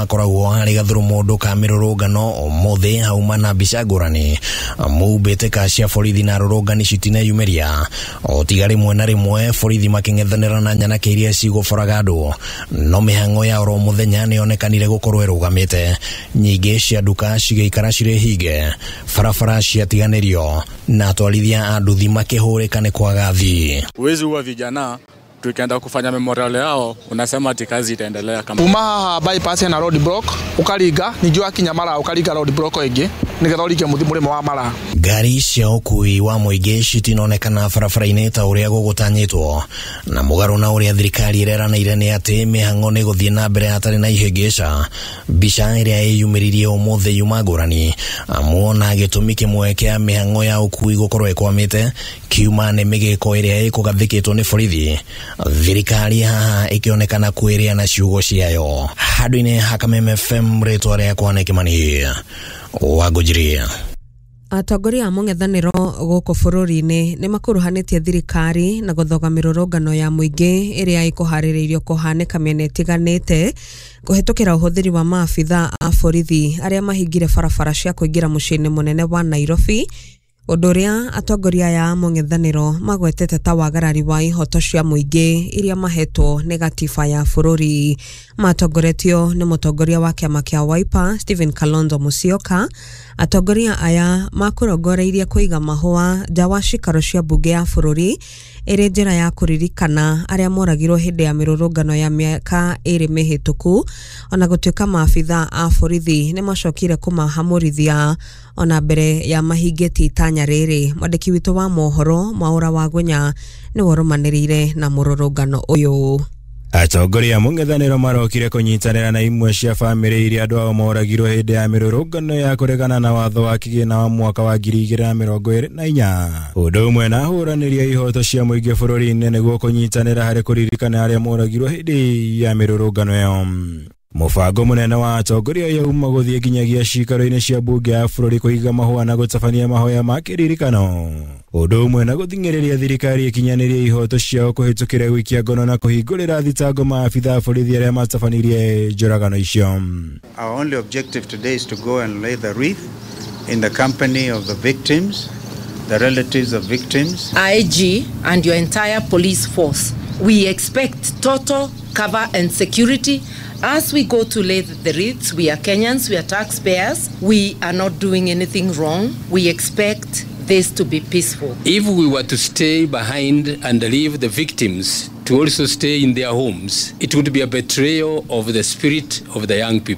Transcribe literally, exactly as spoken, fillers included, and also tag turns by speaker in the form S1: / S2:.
S1: hakoragwo harĩ gathurũmũndũ ka mĩrũrũngano ũmũthĩ hauma na mbica ngũrani amu mbĩtĩka cia borithi na arũrũngani citineyumĩria o tiga rĩmwe na rĩmwe borithi makĩng'ethanĩra na nyanake iria cigũboraga andũ no mĩhang'o ya oro mũthenya nĩyonekanire gũkorwo ĩrũgamĩte nyingĩ cia nduka cigĩikara cirĩ hinge barabara ciatiganĩrio na atwarithia a nduthi makĩhũrĩka nĩ kwaga thii.
S2: Huwezi ua vijana tukienda kufanya memorial yao unasema ati kazi itaendelea kama
S3: kuma haha bypass na road block ukaringa ningĩ wakinya Mara ukaringa road block ĩngĩ nĩgetha ũringe mũrĩmo wa Mara.
S1: Ngari cia ũkui wa mũingĩ citinonekana barabara-inĩ ta ũrĩa gũgũtanyĩtwo na mũgarũ na ũrĩa thirikari ĩreranĩire nĩ atĩ mĩhang'o nĩ gũthiĩ na mbere hatarĩ na ihĩngĩca. Mbica ĩrĩa ĩyumĩririe ũmũthĩ yuma ngũrani amu ona gĩtũmi kĩmwe kĩa mĩhang'o ya ũkui gũkorwo ĩkwamĩte kiuma nĩ mĩgĩko ĩrĩa ĩkũgathĩkĩtwo nĩ borithi thirikari haha ĩkĩonekana kwĩrĩa na ciugo ciayo. Handũ-inĩ ha Kameme F M rĩtwa rĩakwa nĩ Kĩmani wa Ngũnjiri.
S4: Atongoria a mũng'ethanĩro gũkũ bũrũri-inĩ nĩ makuruhanĩtie thirikari na gũthoga mĩrũrũngano ya mũingĩ ĩrĩa ĩkũharĩrĩirio kũhanĩka mĩena ĩtiganĩte kũhetũkĩra ũhũthĩri wa maabitha a borithi arĩa mahingire barabara cia kũingĩra mũciĩ-inĩ mũnene wa Nairobi, ũndũ ũrĩa atongoria aya a mũng'ethanĩro magwetete ta wagarari wa ihoto cia mũingĩ iria mahetwo nĩ gatiba ya bũrũri. Matongoretio nĩ mũtongoria wa kĩama kĩa Wiper Stephen Kalonzo Musyoka. Atongoria aya makũrongoreirie kũiga mahũa nja wa cikaro cia mbunge ya bũrũri ĩrĩ njĩra ya kũririkana arĩa moragirwo hĩndĩ ya mĩrũrũngano ya mĩaka ĩrĩ mĩhĩtũku, ona gũtuĩka maabitha a borithi nĩ macokire kũmahamũrithia ona mbere ya mahingĩtie itanya rĩrĩ. Mwandĩki witũ wa mohoro Mwaũra wa Ngũnya nĩwe ũrũmanĩrĩire na mũrũrũngano ũyũ.
S5: Atongoria a mũng'ethanĩro marokire kũnyitanĩra na imwe cia bamĩrĩ iria andũ ao moragirwo hĩndĩ ya mĩrũrũngano ya kũregana na watho wa kĩgĩna wa mwaka wa ngiri igĩrĩ na mĩrongo ĩrĩ na inya ũndũ ũmwe na ahũranĩri a ihoto cia mũingĩ bũrũri-inĩ nĩguo kũnyitanĩra harĩ kũririkana arĩa moragirwo hĩndĩ ya mĩrũrũngano ĩyo. Mũbango mũnene wa atongoria aya uma gũthiĩ nginyagia cikaro-inĩ cia mbunge ya bũrũri kũiga mahũa na gũtabania mahoya ma kĩririkano ũndũ ũmwe na gũthing'ĩrĩria thirikari ĩkinyanĩrie ihoto ciao kũhĩtũkĩra gũikia ngono na kũhingũrĩra thitango maabitha a borithi arĩa matabanirie njũragano icio.
S6: Our only objective today is to go and lay the wreath in the company of the victims, the relatives of victims.
S7: I G and your entire police force, we expect total cover and security as we go to lay the wreaths. We are Kenyans, we are taxpayers, we are not doing anything wrong. We expect this to be peaceful.
S8: If we were to stay behind and leave the victims to also stay in their homes, it would be a betrayal of the spirit of the young people.